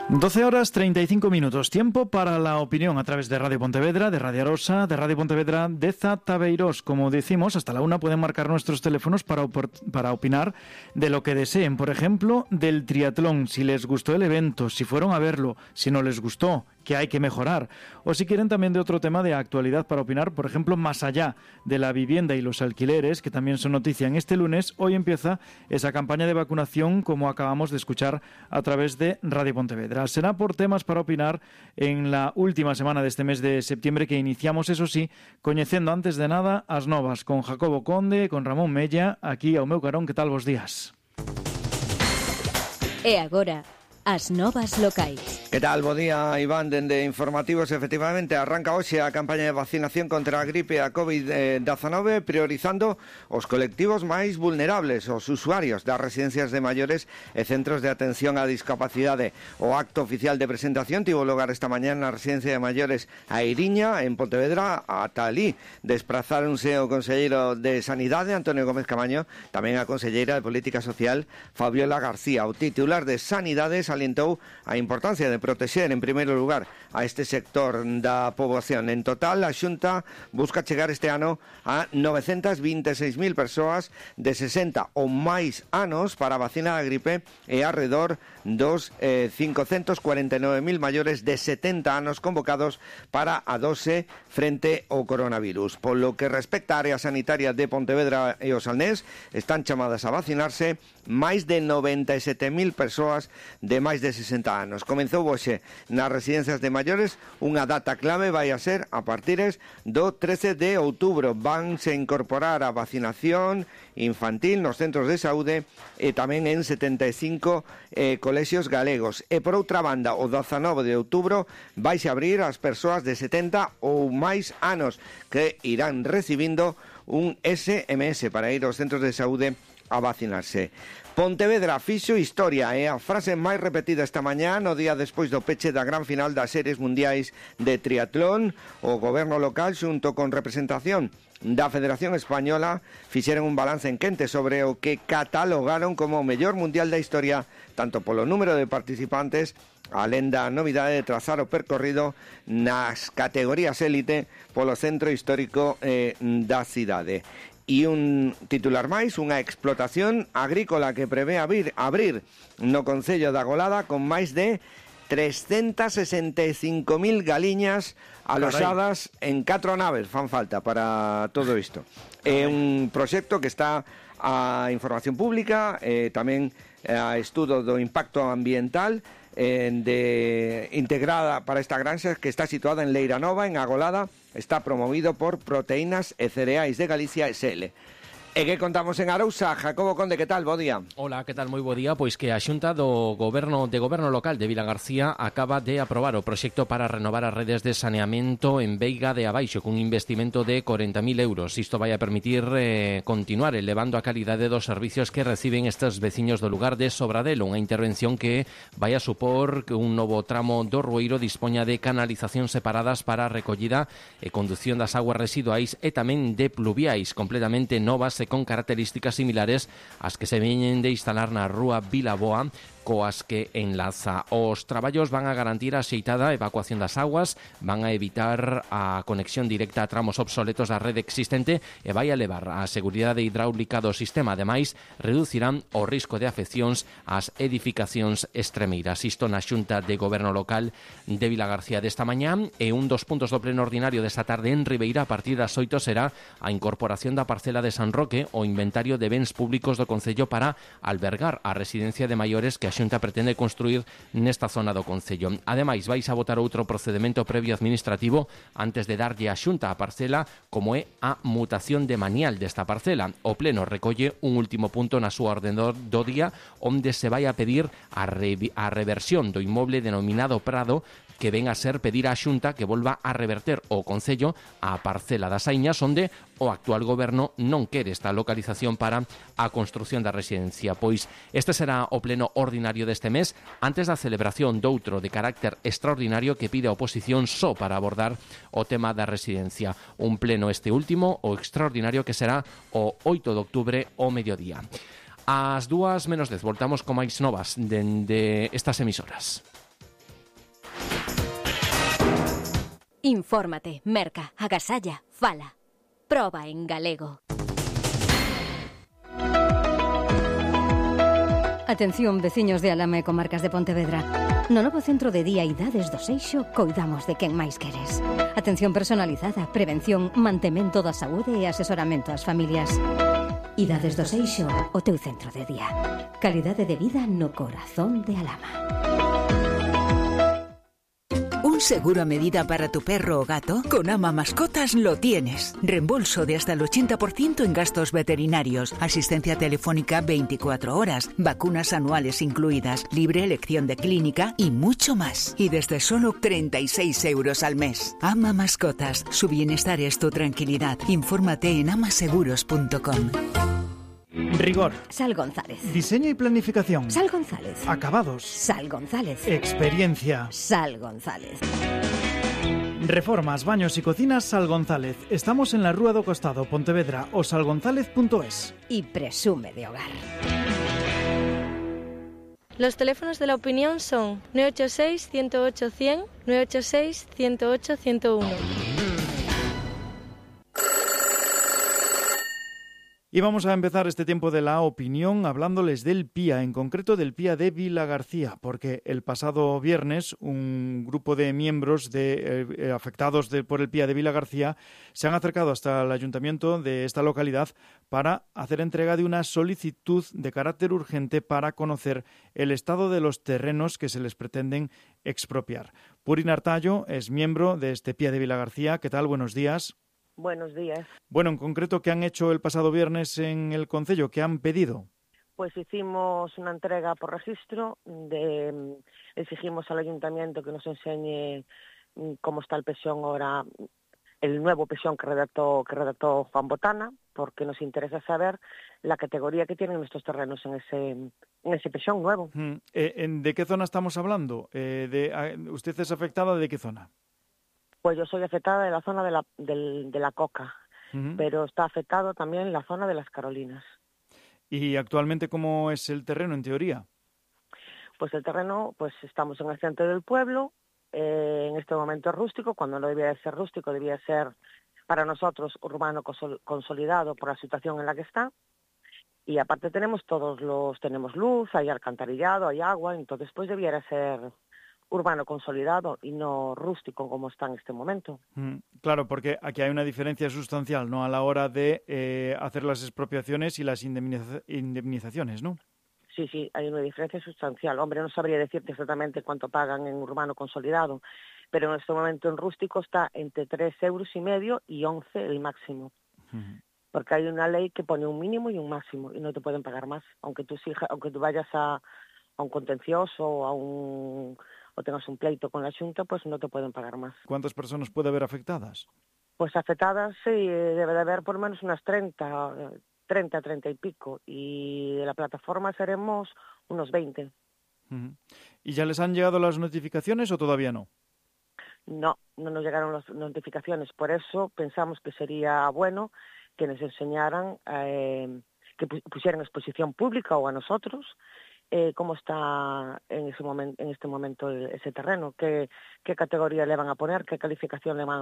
12 horas 35 minutos, tiempo para la opinión a través de Radio Pontevedra, de Radio Arosa, de Radio Pontevedra, de Zatabeirós. Como decimos, hasta la 1 pueden marcar nuestros teléfonos para opinar de lo que deseen. Por ejemplo, del triatlón, si les gustó el evento, si fueron a verlo, si no les gustó, que hay que mejorar. O si quieren también de otro tema de actualidad para opinar, por ejemplo, más allá de la vivienda y los alquileres, que también son noticia en este lunes. Hoy empieza esa campaña de vacunación, como acabamos de escuchar a través de Radio Pontevedra. Será por temas para opinar en la última semana de este mes de septiembre, que iniciamos, eso sí, coñecendo antes de nada as novas con Jacobo Conde, con Ramón Mella, aquí ao meu carón. Que tal vos días? E agora, as novas locais. Que tal? Bo día, Iván, dende Informativos. Efectivamente, arranca hoxe a campaña de vacinación contra a gripe a COVID-19, priorizando os colectivos máis vulnerables, os usuarios das residencias de maiores e centros de atención á discapacidade. O acto oficial de presentación tivo lugar esta mañá na residencia de maiores a Iriña, en Pontevedra. Ata alí desprazáronse o conselleiro de Sanidade, Antonio Gómez Camaño, tamén a conselleira de Política Social, Fabiola García. O titular de Sanidade salientou a importancia de protexer en primeiro lugar a este sector da poboación. En total, a Xunta busca chegar este ano a 926.000 persoas de 60 ou máis anos para a vacina da gripe e arredor dos 549.000 maiores de 70 anos convocados para a dose frente ao coronavirus. Polo que respecta á área sanitaria de Pontevedra e o Salnés, están chamadas a vacinarse máis de 97.000 persoas de máis de 60 anos. Comezou hoxe nas residencias de maiores. Unha data clave vai a ser a partires do 13 de outubro. Vanse incorporar a vacinación infantil nos centros de saúde e tamén en 75 colexios galegos. E por outra banda, o 19 de outubro vaise abrir as persoas de 70 ou máis anos que irán recibindo un SMS para ir aos centros de saúde a vacinarse. Pontevedra fixo historia, é a frase máis repetida esta mañá no día despois do peche da gran final das series mundiais de triatlón. O goberno local, xunto con representación da Federación Española, fixeron un balance en quente sobre o que catalogaron como o mellor mundial da historia, tanto polo número de participantes, alén da novidade de trazar o percorrido nas categorías élite polo centro histórico da cidade. E un titular máis, unha explotación agrícola que prevé abrir no concello da Golada con máis de 365.000 galiñas aloxadas en 4 naves. Fan falta para todo isto. É un proxecto que está a información pública, tamén a estudo do impacto ambiental integrada para esta granja, que está situada en Leira Nova, en Agolada. Está promovido por Proteínas e Cereais de Galicia SL. E que contamos en Arousa? Jacobo Conde, que tal? Bo día. Hola, que tal? Moi bo día. Pois que a Xunta do Goberno Local de Vilagarcía acaba de aprobar o proxecto para renovar as redes de saneamento en Veiga de Abaixo cun investimento de 40.000 euros. Isto vai a permitir continuar elevando a calidade dos servicios que reciben estes veciños do lugar de Sobradelo, unha intervención que vai a supor que un novo tramo do Rueiro dispoña de canalizacións separadas para a recollida e condución das aguas residuais e tamén de pluviais completamente novas e con características similares ás que se veñen de instalar na rúa Vilaboa, coas que enlaza. Os traballos van a garantir a axeitada evacuación das aguas, van a evitar a conexión directa a tramos obsoletos da rede existente e vai a elevar a seguridade hidráulica do sistema. Ademais, reducirán o risco de afeccións ás edificacións extremeiras. Isto na Xunta de Goberno Local de Vilagarcía desta mañá, e un dos puntos do pleno ordinario desta tarde en Ribeira a partir das 8 será a incorporación da parcela de San Roque ao inventario de bens públicos do concello para albergar a residencia de maiores que a Xunta pretende construir nesta zona do concello. Ademais, vais a votar outro procedimento previo administrativo antes de darlle a Xunta a parcela, como é a mutación de manial desta parcela. O pleno recolle un último punto na súa orde do día, onde se vai a pedir a reversión do inmoble denominado Prado, que ven a ser pedir á Xunta que volva a reverter o concello á parcela das Aiñas, onde o actual goberno non quere esta localización para a construción da residencia. Pois este será o pleno ordinario deste mes, antes da celebración doutro de carácter extraordinario que pide a oposición só para abordar o tema da residencia. Un pleno este último, o extraordinario, que será o 8 de outubro ao mediodía. Ás 2:10 voltamos con máis novas dende estas emisoras. Infórmate, merca, agasalla, fala. Proba en galego. Atención, veciños de Alama e comarcas de Pontevedra. No novo centro de día Idades do Seixo coidamos de quen máis queres. Atención personalizada, prevención, mantemento da saúde e asesoramento ás familias. Idades do Seixo, o teu centro de día. Calidade de vida no corazón de Alama. ¿Un seguro a medida para tu perro o gato? Con Ama Mascotas lo tienes. Reembolso de hasta el 80% en gastos veterinarios, asistencia telefónica 24 horas, vacunas anuales incluidas, libre elección de clínica y mucho más. Y desde solo 36 euros al mes. Ama Mascotas. Su bienestar es tu tranquilidad. Infórmate en amaseguros.com. Rigor. Sal González. Diseño y planificación. Sal González. Acabados. Sal González. Experiencia. Sal González. Reformas, baños y cocinas Sal González. Estamos en la Rúa do Costado, Pontevedra, o salgonzález.es. Y presume de hogar. Los teléfonos de la opinión son 986-108-100, 986-108-101. Y vamos a empezar este tiempo de la opinión hablándoles del PIA, en concreto del PIA de Vilagarcía, porque el pasado viernes un grupo de miembros afectados por el PIA de Vilagarcía se han acercado hasta el ayuntamiento de esta localidad para hacer entrega de una solicitud de carácter urgente para conocer el estado de los terrenos que se les pretenden expropiar. Purin Artallo es miembro de este PIA de Vilagarcía. ¿Qué tal? Buenos días. Buenos días. Bueno, en concreto, ¿qué han hecho el pasado viernes en el concello? ¿Qué han pedido? Pues hicimos una entrega por registro, exigimos al ayuntamiento que nos enseñe cómo está el pensión ahora, el nuevo pensión que redactó Juan Botana, porque nos interesa saber la categoría que tienen nuestros terrenos en ese pensión nuevo. ¿De qué zona estamos hablando? ¿Usted es afectada de qué zona? Pues yo soy afectada de la zona de la Coca, pero está afectado también la zona de las Carolinas. ¿Y actualmente cómo es el terreno, en teoría? Pues el terreno, pues estamos en el centro del pueblo, en este momento es rústico, cuando no debía de ser rústico, debía ser para nosotros urbano consolidado por la situación en la que está. Y aparte tenemos luz, hay alcantarillado, hay agua, entonces pues debiera ser urbano consolidado y no rústico como está en este momento. Claro, porque aquí hay una diferencia sustancial, ¿no?, a la hora de hacer las expropiaciones y las indemnizaciones, ¿no? Sí, hay una diferencia sustancial. Hombre, no sabría decirte exactamente cuánto pagan en urbano consolidado, pero en este momento en rústico está entre 3,5 € y 11 el máximo. Porque hay una ley que pone un mínimo y un máximo y no te pueden pagar más, aunque tú vayas a un contencioso o tengas un pleito con la Xunta, pues no te pueden pagar más. ¿Cuántas personas puede haber afectadas? Pues afectadas sí, debe de haber por lo menos unas 30 y pico, y de la plataforma seremos unos 20. ¿Y ya les han llegado las notificaciones o todavía no? No nos llegaron las notificaciones, por eso pensamos que sería bueno que nos enseñaran, que pusieran exposición pública o a nosotros, cómo está en este momento ese terreno, qué categoría le van a poner, qué calificación le van